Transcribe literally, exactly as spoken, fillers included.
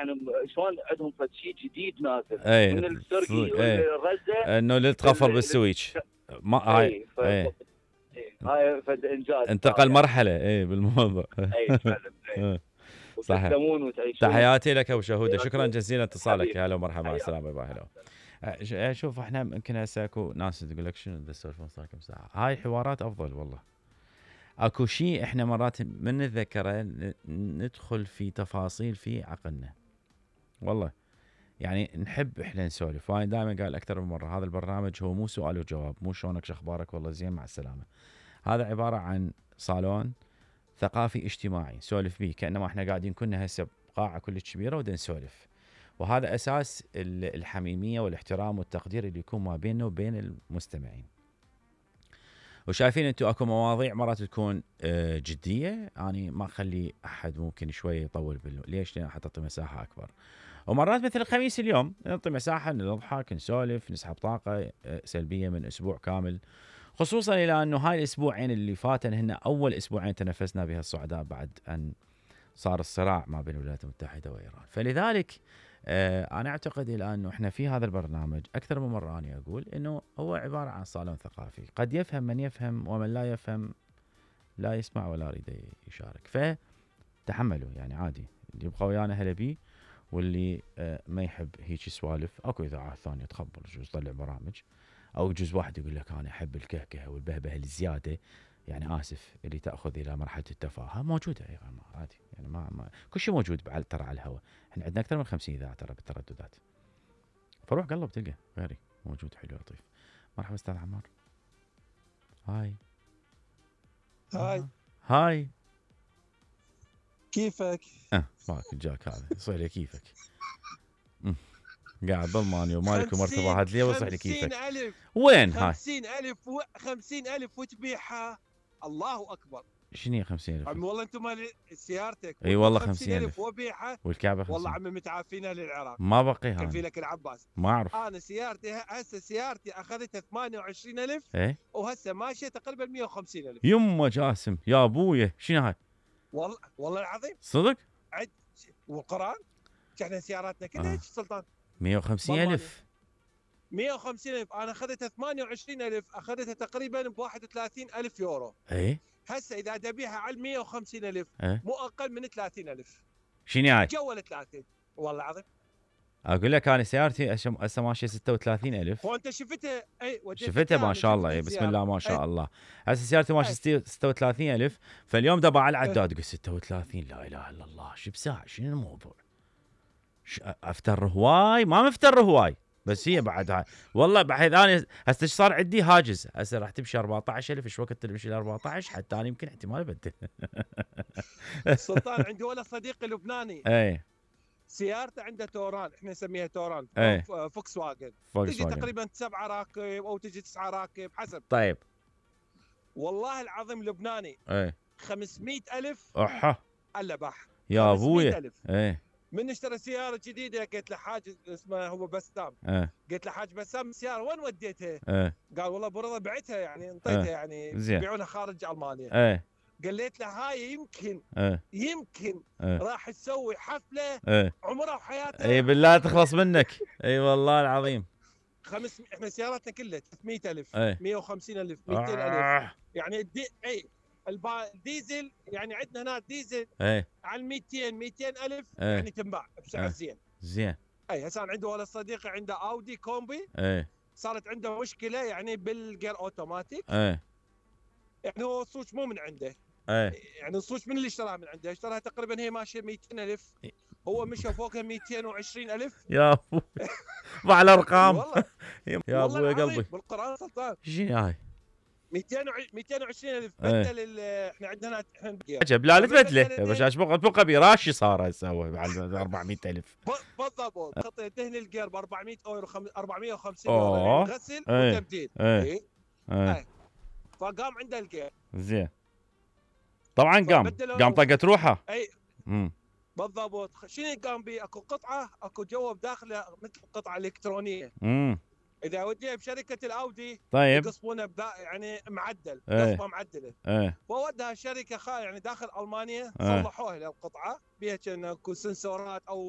يعني شلون عندهم فد شيء جديد نازل اي من السرقي اي والرزه انه اللي تخفر بالسويتش ما هاي اي هاي فد انجاز انتقل يعني. مرحله اي بالموضوع اي فعلا اي صحيح. تحياتي لك ابو شهوده، شكرا جزيلا اتصالك. هلا ومرحبا، مع السلامه. باي. هلا شوف احنا يمكن هسه اكو ناس تقول لك شنو تسولفون صار كم ساعه، هاي حوارات افضل والله. اكو شيء احنا مرات من نتذكره ندخل في تفاصيل في عقلنا والله، يعني نحب احنا نسولف. وانا دائما قال اكثر من مره هذا البرنامج هو مو سؤال وجواب، مو شلونك شخبارك والله زين مع السلامه. هذا عباره عن صالون ثقافي اجتماعي نسولف به، كانما احنا قاعدين كنا هسه بقاعه كلش كبيره ودنا نسولف، وهذا اساس الحميميه والاحترام والتقدير اللي يكون ما بيننا وبين المستمعين. وشايفين انتم اكو مواضيع مرات تكون جديه، اني ما اخلي احد ممكن شويه يطول بالله، ليش؟ لان حتى تعطي مساحه اكبر. ومرات مثل الخميس اليوم نعطي مساحه نضحك نسولف نسحب طاقه سلبيه من اسبوع كامل، خصوصا الى انه هاي الاسبوعين اللي فاتن هن اول اسبوعين تنفسنا بها الصعداء بعد ان صار الصراع ما بين الولايات المتحده وايران. فلذلك آه انا اعتقد الى انه احنا في هذا البرنامج اكثر من مره اني اقول انه هو عباره عن صالون ثقافي، قد يفهم من يفهم ومن لا يفهم لا يسمع ولا يريد يشارك. فتحملوا يعني عادي، اللي يبقى ويانا هلا بيه، واللي آه ما يحب هيك سوالف اكو اذاعات ثانيه تخبر يجوز طلع برامج، او يجوز واحد يقول لك انا احب الكهكه والبهبه الزياده، يعني اسف اللي تاخذ الى مرحله التفاهه موجوده ايضا عادي، يعني ما, ما كل شيء موجود ترى على الهواء. احنا عندنا اكثر من خمسين اذاعه ترى بالترددات، فروح قلب تلقى غيري موجود حلو لطيف. مرحبا استاذ عمار. هاي هاي هاي كيفك؟ اه ماك جاك هذا يصير لي كيفك قاعد بالمانيا ومالك ومرتبه هات لي وصح لي كيفك. ألف. وين هاي؟ خمسين ألف و... خمسين ألف وتبيعها، الله أكبر. شنو هي خمسين ألف؟ عمي والله أنتم مال سيارتك. اي والله خمسين ألف وبيعها والكعبة خمسين. والله عمي متعافينا للعراق. ما بقي هاي. كفي لك العباس. ما أعرف. أنا سيارتي هسه سيارتي أخذتها ثمانية وعشرين ألف. إيه؟ وهسه ماشية تقريبا مية وخمسين ألف. يمه جاسم يا أبويا شنو هاي؟ والله والله العظيم. صدق؟ عد والقرآن احنا سياراتنا كلها هيك سلطان. مية وخمسين ألف. مية وخمسين ألف أنا أخذتها ثمانية وعشرين ألف، أخذتها تقريبا ب واحد وثلاثين ألف يورو. إيه؟ هسه إذا تبيعها على مية وخمسين ألف إيه؟ مو أقل من ثلاثين ألف. شنو هاي؟ جول ثلاثين والله العظيم. أقول لك أنا سيارتي هسه ماشية ستة وثلاثين ألف. هو أنت شفتها؟ أي شفتها ما شاء الله. أي بسم الله ما شاء الله. هسه سيارتي ماشية ستة وثلاثين ألف، فاليوم دبا على العداد يقول ستة وثلاثين لا إله إلا الله شو بساعة شنو الموضوع؟ أفتر هواي ما مفتر هواي بس هي بعد هاي والله بحيث انا هسه صار عندي هاجس، هسه راح تمشي أربعة عشر ألف. ايش وقت تمشي ل أربعة عشر حتى انا يمكن احتمال ابدل. سلطان عندي ولا صديق لبناني اي سيارته عنده توران، احنا نسميها توران ايه. فوكس واجن تجي تقريبا سبعة راكب او تجي تسعة راكب حسب. طيب والله العظيم لبناني ايه خمسمية ألف احا الا بح يا ابويا. ايه من اشترى سياره جديده قلت له حاج اسمه هو بسام. ايه قلت له حاج بسام السياره وين وديتها؟ ايه قال والله برضه بعتها يعني انطيتها ايه. يعني يبيعونها خارج المانيا. ايه قلت له هاي يمكن ايه. يمكن ايه. راح تسوي حفله ايه. عمرها وحياتها. اي بالله تخلص منك. اي والله العظيم. خمس احنا سياراتنا كلها ثلاثمية ألف ايه. مية وخمسين ألف مئتين ألف آه. يعني الدي... اي البا... الديزل يعني عندنا هنا ديزل ايه على مئتين مئتين ألف ايه. يعني تنباع بسعر ايه. زين زين. اي هسه عنده ولا صديقي عنده اودي كومبي. ايه صارت عنده مشكله يعني بالجير اوتوماتيك. ايه يعني هو الصوت مو من عنده. ايه يعني الصوت من اللي اشتراها من عنده؟ اشتراها تقريبا هي ماشيه مئتين ألف، هو مشى فوقها مئتين وعشرين ألف. يا ابوي مع الارقام. والله يا ابوي قلبي بالقران سلطان. شنو هاي؟ مئتين وعشرين ألف بدل. احنا عندنا احنا عجب. لا لا تبدله يا باشا اشبق بقى براشي صار يسوي على أربعمية ألف بالضبط. خطيه دهن الجير ب أربعمية اورو أربعمية وخمسين يورو غسل ايه. وتبديل. ايه. ايه. ايه. فقام عنده الجير زين طبعا قام قام طقت روحه. اي امم بالضبط. شنو قام بي؟ اكو قطعه اكو جوا بداخله مثل قطعه الكترونيه. امم اذا وديها بشركه الاودي طيب يقصبونه يعني معدل ايه. قصبه معدله. ايه. فودها شركه خا يعني داخل المانيا ايه. صلحوها للقطعه بها كان اكو سنسورات او